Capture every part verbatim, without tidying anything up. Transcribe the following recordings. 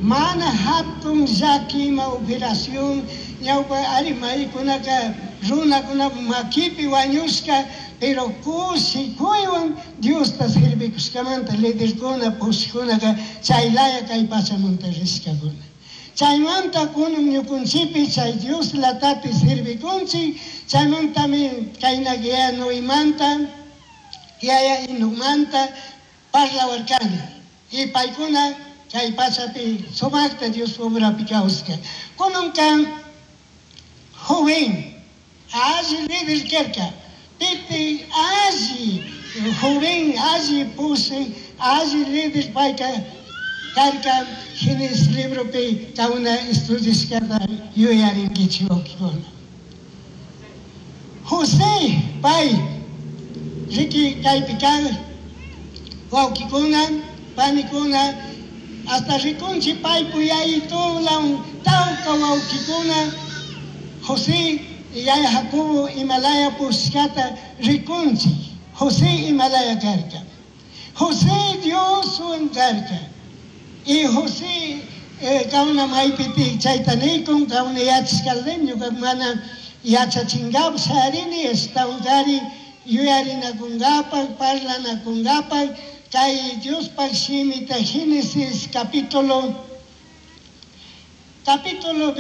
Mana hatun llaki ima operación ñawpa ari maykunaka runakuna makipi wañushka, pero kushikuywan Diosta servikushkamanta liderkuna pushkunaka chaylaya kay pachamanta rishkakuna. Chaymanta kunan ñukunchikpi chay Dios latati servikunchik, chaymantami kayna yaya Noemanta, yaya Enocmanta parlawarkani. Y paykuna kay pachapi sumakta Dios obrapi kawsaka. Kunanka joven, alli líder karka, piti alli joven, alli pushi, alli líder payka karka. Génesis libropi kauna estudiashkata yuyarinkichik wawkikuna. José pay riki kaypi kan wawkikuna, panikuna, hasta rikunchik paypu yayitulan tawka wawkikuna José yaya Jacobo imalaya pushkata rikunchik. José imalaya karka. José Dioswan karka. Y José eh, kauna maypiti chayta nikun, kauna yachashkaldim, ñuka mana yachachinkapak sharini, ashtawankari yuyarinakunkapak, parlanakunkapak, kay Diospak shimita Génesis capítulo, capítulo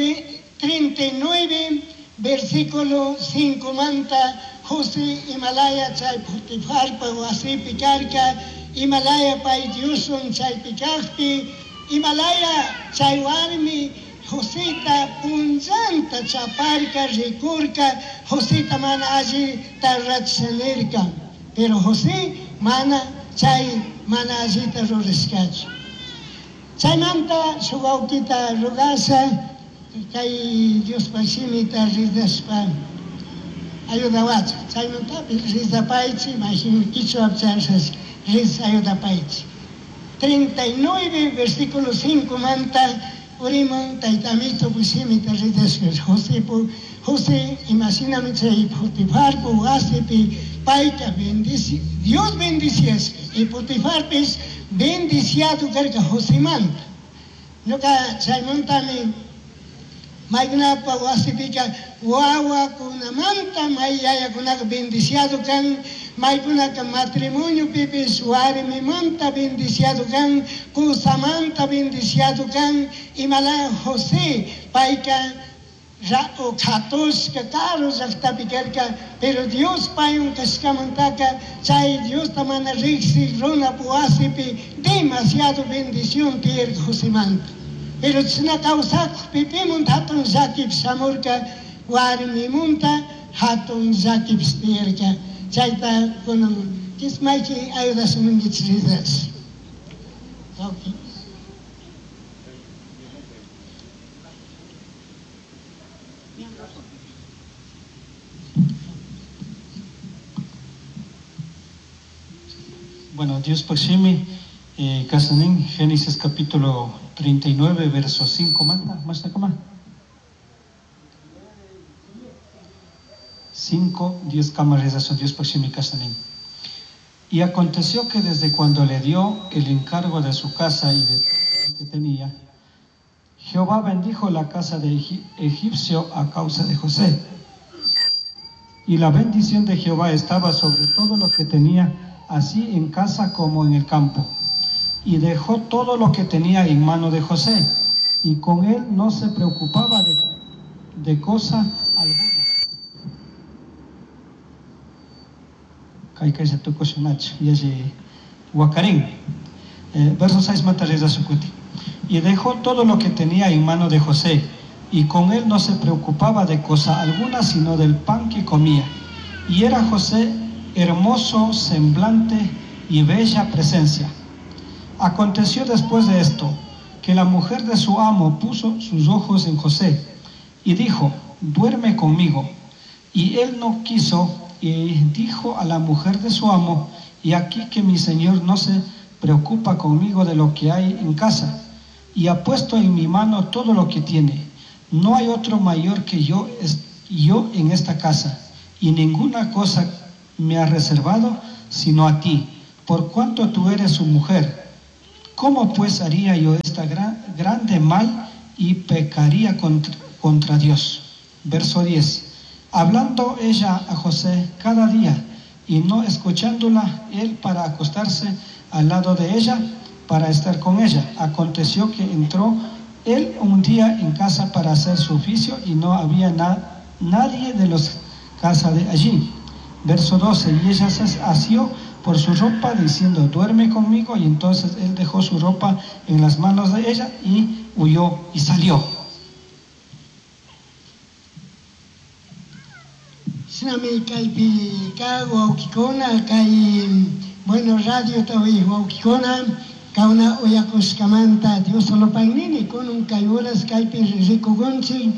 treinta y nueve, versículo cinco manta, José imalaya chay Potifarpa wasipi karka, Himalaya pay Dioswan chaypi kaqpi, Himalaya chay warmi Joseta punllanta chaparka, rikurka, Joseta mana allita rurasha. Pero José mana chay mana allita rurashkachu. Chaymanta shuk wawkita rugasha, kay Diospa shimita ridashpa ayudawachu. Chaymantapis rizapaychi, mayhin kichwa chashas riz ayudapaychi. treinta y nueve, versículo cinco manta, uriman taytamito pushimita ridashka José pu, José imaginami chay Potifarpu wasipi payta bendici, Dios bendiciasqa y Potifarpis bendiciado karka Josemanta. Ñuka chaymantami maykunapa wasipika wawakunamanta may yayakunaka bendiciado kan, maykunaka matrimonio pipis warmimanta bendiciado kan, kusamanta bendiciado kan, imala José payka ra'u katushka karu llaqtapi karka, pero Dios paywan kashkamantaka chay Diosta mana riqsi runap wasipi demasiado bendición tiyarka Josemanta. Pero chashna kawsakpi pimunta hatun llakipish shamurka, warmimunta hatun llakipish tiyarka. Chayta kunan kismayki ayudashamunkichik ridash. Okay. Bueno, Dios Paximi, eh, Casanín, Génesis capítulo treinta y nueve, verso cinco, manta, más acá. cinco, diez cámaras de Dios Paximi Casanín. Y aconteció que desde cuando le dio el encargo de su casa y de todo lo que tenía, Jehová bendijo la casa de Egip-, egipcio a causa de José. Y la bendición de Jehová estaba sobre todo lo que tenía, así en casa como en el campo. Y dejó todo lo que tenía en mano de José, y con él no se preocupaba de, de cosa alguna. Kay kay se tocó su nach, y ese Huacarín. Eh, verso seis, Matareza Sucuti. Y dejó todo lo que tenía en mano de José, y con él no se preocupaba de cosa alguna, sino del pan que comía. Y era José hermoso semblante y bella presencia. Aconteció después de esto, que la mujer de su amo puso sus ojos en José, y dijo, duerme conmigo. Y él no quiso, y dijo a la mujer de su amo, y aquí que mi señor no se preocupa conmigo de lo que hay en casa, y ha puesto en mi mano todo lo que tiene. No hay otro mayor que yo, yo en esta casa, y ninguna cosa me ha reservado sino a ti, por cuanto tú eres su mujer. ¿Cómo pues haría yo esta gran, grande mal y pecaría contra, contra Dios. Verso diez. Hablando ella a José cada día y no escuchándola él para acostarse al lado de ella, para estar con ella. Aconteció que entró él un día en casa para hacer su oficio y no había na nadie de los casa de allí. Verso doce. Y ella se asió por su ropa diciendo, duerme conmigo. Y entonces él dejó su ropa en las manos de ella y huyó y salió. Bueno, radio tawi wawkikuna kauna uyakushkamanta Dios solo pagnini kunun kay horas kaypi rikukunchik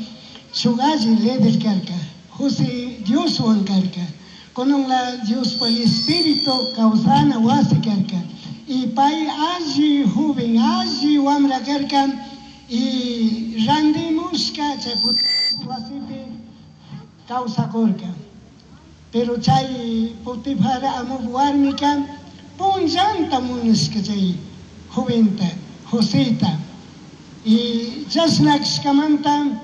shuk alli líder karka José Dioswan karka kunun la Diospa espíritu kawsana wasi karka y pay alli joven alli wamra karka y randimushka chay wasipi kawsakurka. Pero chay Potifar amup warmika punllanta munashka chay joventa Joseta y chashna kashkamanta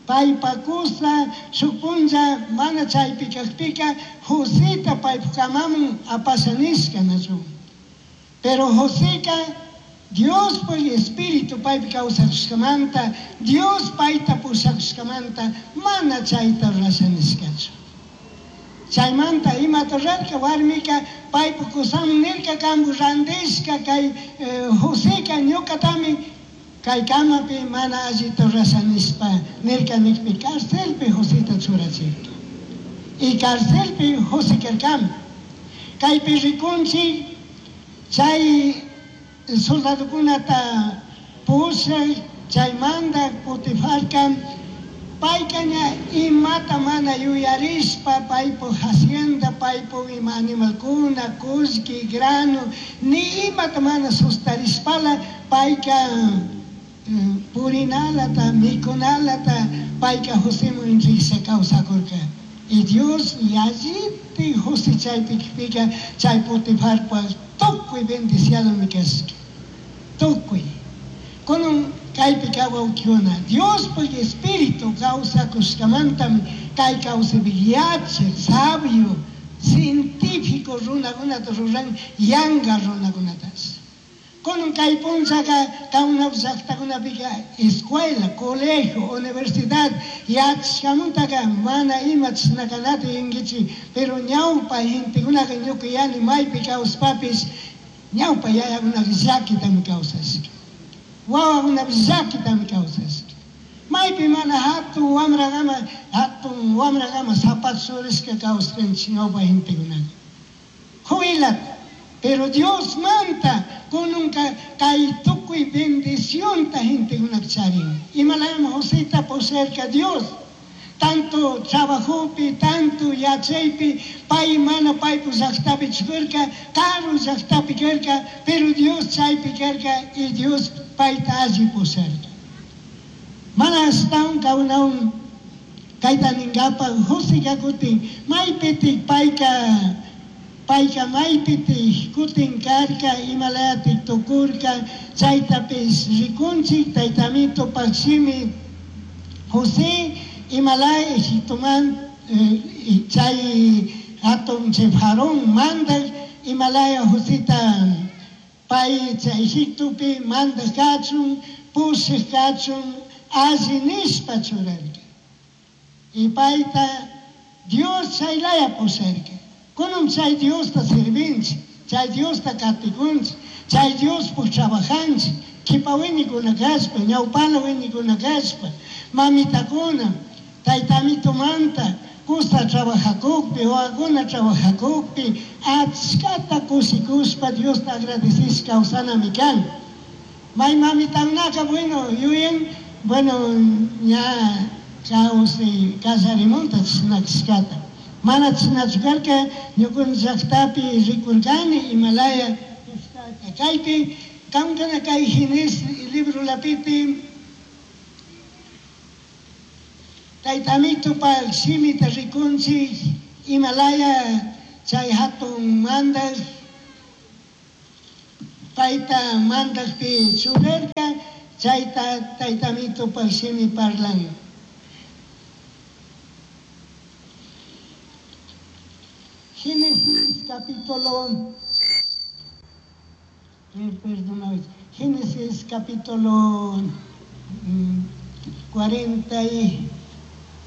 paypa kusa shuk punlla mana chaypi kajpika Joseta paypa kamaman apasha nishka nachu. Pero Joseka Diospa espíritu paypi kawsakushkamanta Dios payta pushakushkamanta mana chayta rurasha nishkachu. Chaymanta imata rurarka warmika paypa kusaman nirka kampu randishka kay Joseka ñukatami kay kamapi mana allita rurasha nishpa nirka nikpi carcelpi Joseta churachirka. Y carcelpi José karkami. Kaypi rikunchik chay soldadokunata pushak chaymanta Potifarka payka ña imata mana yuyarishpa paypuk hacienda paypuk ima animalkuna kullki grano ni imata mana sustarishpala payka purinalata mikunalata payka Joseman risha kawsakurka. Y Dios yalliti José chaypi kipika chay Potifarpa tukuy bendiciadomi kashka tukuy. Kunun kaypi kawawkikuna Diospuk espíritu kawsakushkamantami kay kawsaypi yachak sabio científico runakunata ruran yanka runakunatash. Kunun kay punllaka kawnapi llaktakunapika escuela, colegio, universidad yachashkamantaka mana ima chashnakanata yunkichik, pero ñawpa gentekunaka ñuka yani maypi kawspapish ñawpa yayakunaka llakitami kawsashka. Wawakunapish llakitami kawsashka. Maypi mana hatun wamrakama hatun wamrakama zapato churashka kawsaskanchik ñawpa gentekunaka. Jubilata. Pero Dios manta kununka kay tukuy bendicionta gentekunaka charin. Imalayami Joseta pusharka Dios. Tanto trabajopi, tanto yachaypi, pay mana paypu llaqtapi chukurka, karu llaqtapi karka, pero Dios chaypi karka y Dios payta alli pusharka. Mana ashtawan kawnawan kayta ninkapa Joseka kutin maypitik payka payka maypitik kutin karka imalayatik tukurka chaytapish rikunchik taytamitupak shimi José imalaya Egiptoman chay hatun chay Faraón mandak imalaya Joseta pay chay Egiptopi mandak kachun pushak kachun alli nishpa churarka. Y payta Dios chaylaya pusharka. Kunun chay Diosta sirvinchik, chay Diosta katikunchik, chay Diospuk trabajanchik, kipa wiñikuna kashpa, ñawpala wiñikuna kashpa, mamitakuna, taytamitumanta kusa trabajakukpi, wawakuna trabajakukpi, achkata kushikushpa Diosta agradecishpa kawsanami kan. May mamitanaka bueno yuyan, bueno ña kawsay kallarimunta chashna kashkata. Mana chashnachu karka ñukanchik llaqtapi rikurkani imalaya kaypi kamkana kay Génesis librolapiti taytamitupak shimita rikunchik imalaya chay hatun mandak payta mandakpi churarka. Chayta taytamito shimi parlan. Génesis capítulo, perdona, Génesis capítulo cuarenta y